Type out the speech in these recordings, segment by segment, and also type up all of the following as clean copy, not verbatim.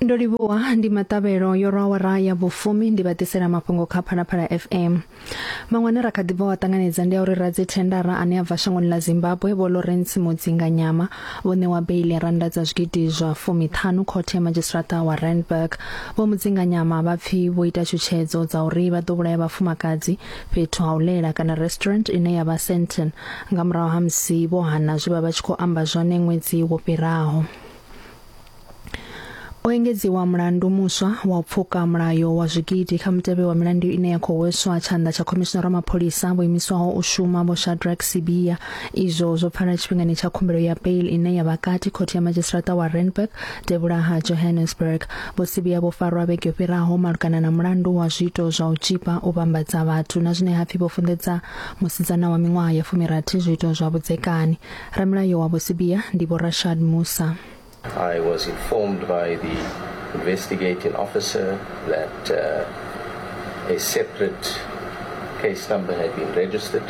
Ndo livhuwa ndi maṱavhelo yo rwa awara ya vhufumi ndi vha ḓisela mafhungo kha Phalaphala FM. Maṅwe ane ra kha ḓi bva wa ṱanganedza ndi a uri radzithendara ane a bva shangoni ḽa Zimbabwe Vho Lawrence Mudzinganyama vho ṋewa beiḽi ya rannda dza zwigidi zwa fumiṱhanu khothe ya madzhisiṱiraṱa wa Randburg. Vho Mudzinganyama vha pfi vho ita tshutshedzo dza uri vha ḓo vhulaya vhafumakadzi fhethu ha u ḽela kana restaurant ine ya vha Sandton nga murahu ha musi vho hana zwe vha vha tshi khou amba zwone ṅwedzi wo fhiraho. O engedziwa mulandu muswa wa u pfuka mulayo wa zwigidi kha mutevhe wa milandu ine ya khou hweswa tshanḓa tsha khomishinara wa mapholisa vho imiswaho u shuma Vho Shadrack Sibiya. Izwo zwo pfala tshifhingani tsha khumbelo ya bail ine ya vha kati khothe ya madzhisiṱiraṱa wa Randburg devhula ha Johannesburg. Vho Sibiya vho farwa vhege yo fhiraho malugana na mulandu wa zwiito zwa u tzhipa, u vhambadza vhathu na zwine ha pfi vho funḓedza musidzana wa miṅwaha ya fumirathi zwiito zwa vhudzekani. Ramilayo wa Vho Sibiya ndi Vho Rashad Moosa. I was informed by the investigating officer that uh, a separate case number had been registered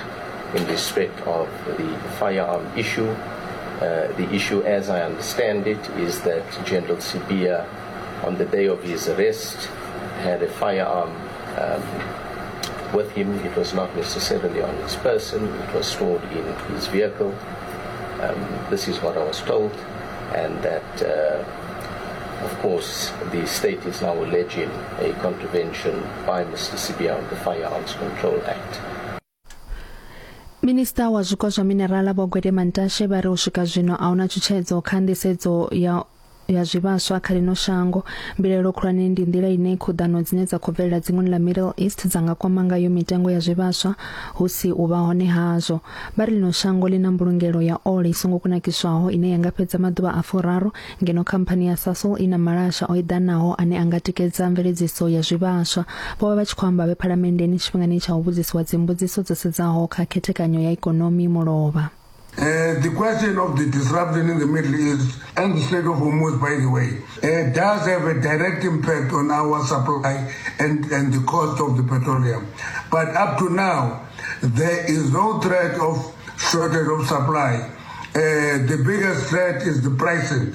in respect of the firearm issue. Uh, the issue, as I understand it, is that General Sibia, on the day of his arrest, had a firearm um, with him. It was not necessarily on his person, it was stored in his vehicle. Um, this is what I was told, and that, uh, of course, the state is now alleging a contravention by Mr. Sibia on the Firearms Control Act. Minista wa zwiko zwa minerala Vho Gwede Mantashe vha ri u swika zwino a huna tshutshedzo kha nḓisedzo ya ya zwivhaswa kha ḽino shango. Mbilaelo khulwane ndi nḓila ine khuḓano dzine dza khou bvelela dzinguni ḽa Middle East dza nga kwama ngayo mitengo ya zwivhaswa hu si u vha hone hazwo. Vha ri ḽino shango ḽi na mbulungelo ya ole i songo kunakiswaho ine ya nga fhedza maḓuvha a furaru ngeno khamphani ya Sasol i na malasha o eḓanaho ane a nga tikedza mveledziso ya zwivhaswa. Vho vha vha tshi khou amba vhe phalamenndeni tshifhingani tsha u vhudzisiwa dzimbudziso dzo sedzaho kha khethekanyo ya ikonomi mulovha. Uh, the question of the disruption in the Middle East and the Strait of Hormuz, by the way, uh, does have a direct impact on our supply and, and the cost of the petroleum. But up to now, there is no threat of shortage of supply. Uh, the biggest threat is the pricing.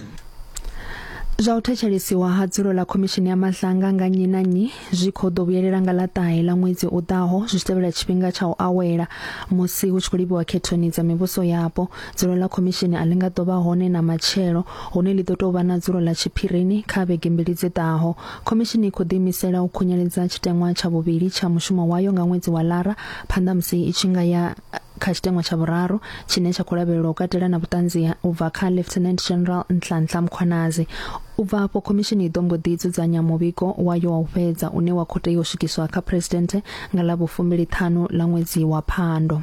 Zwa u thetshelesiwa ha dzulo ḽa khomishini ya Madlanga nga nnyi na nnyi zwi khou ḓo vhuyelela nga ḽa ṱahe ḽa ṅwedzi u ḓaho zwi tshi tevhela tshifhinga tsha u awela musi hu tshi khou livhiwa khethoni dza mivhuso yapo. Dzulo ḽa khomishini a ḽi nga ḓo vha hone na matshelo hune ḽi ḓo tou vha na dzulo ḽa tshiphirini kha vhege mbili dzi ḓaho. Khomishini i khou ḓiimisela u khunyeledza tshiteṅwa tsha vhuvhili tsha mushumo wayo nga ṅwedzi wa Lara phanḓa musi i tshi nga ya kha tshiteṅwa tsha vhuraru tshine tsha khou lavhelelwa u katela na vhuṱanzi u bva kha Lieutenant General Nhlanhla Mkhwanazi. U bva afho khomishini i ḓo mbo ḓi dzudzanya muvhigo wayo wa u fhedza une wa khou tea u swikiswa kha Phresidennde nga ḽa vhufumbiliṱhanu ḽa ṅwedzi wa Phando.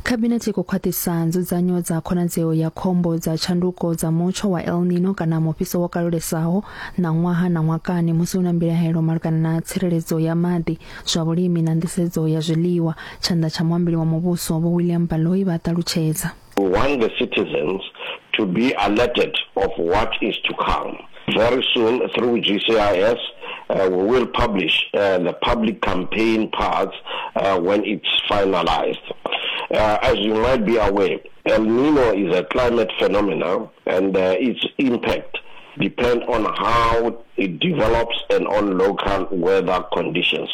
Khabinethe i khou khwaṱhisa nzudzanyo dza khonadzeo ya khombo dza tshanduko dza mutsho wa El Nino kana mufhiso wo kalulesaho ṋaṅwaha na ṅwakani musi hu na mbilahelo malugana na tsireledzo ya maḓi, zwa vhulimi na nḓisedzo ya zwiḽiwa, tshanḓa tsha muambeli wa muvhuso Vho William Baloyi vha ṱalutshedza. We want the citizens to be alerted of what is to come. Very soon through GCIS uh, we will publish uh, the public campaign parts uh, when it's finalized. Uh, as you might be aware, El Nino is a climate phenomenon and uh, its impact depend on how it develops and on local weather conditions.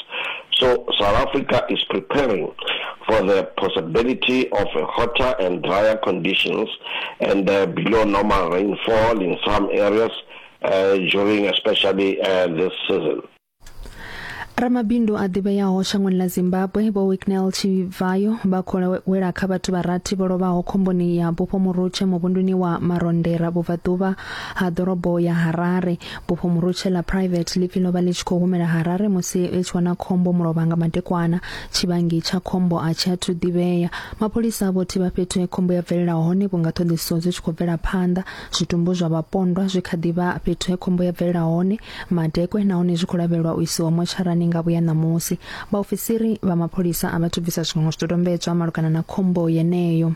So South Africa is preparing for the possibility of hotter and drier conditions and uh, below normal rainfall in some areas uh, during especially uh, this season. Ramabindu a ḓivheaho shangoni ḽa Zimbabwe Vho Wicknell Chivayo vha khou wela kha vhathu vha rathi vho lovhaho khomboni ya bufho murutshe muvhunduni wa Marondera vhubvaḓuvha ha ḓorobo ya Harare. Bufho murutshe ḽa private ḽi pfi ḽo vha ḽi tshi khou humela Harare musi ḽi tshi wana khombo mulovha nga madekwana. Tshivhangi tsha khombo a tshi athu ḓivhea. Mapholisa vho thivha fhethu he khombo ya bvelela hone vhunga ṱhoḓisiso dzi tshi khou bvela phanḓa. Zwitumbu zwa vhapondwa zwi kha ḓi vha fhethu he khombo ya bvelela hone madekwe nahone zwi khou lavhelelwa u isiwa motsharani nga vhuya ṋamusi. Vhaofisiri vha mapholisa a vha thu bvisa zwiṅwe zwidodombedzwa malugana na khombo yeneyo.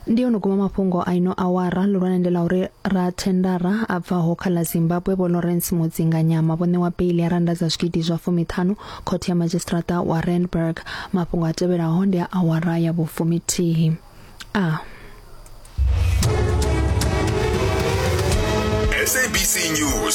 Ndi yo no guma mafhungo a ino awara ḽihulwane ndi ḽa uri rathendara a bvaho kha ḽa Zimbabwe Vho Lawrence Mudzinganyama vho ṋewa beili ya rannda dza zwigidi zwa fumiṱhanu khothe ya madzhisiṱiraṱa wa Randburg. Mafhungo a tevhelaho ndi a awara ya vhufumithihi. A. SABC News.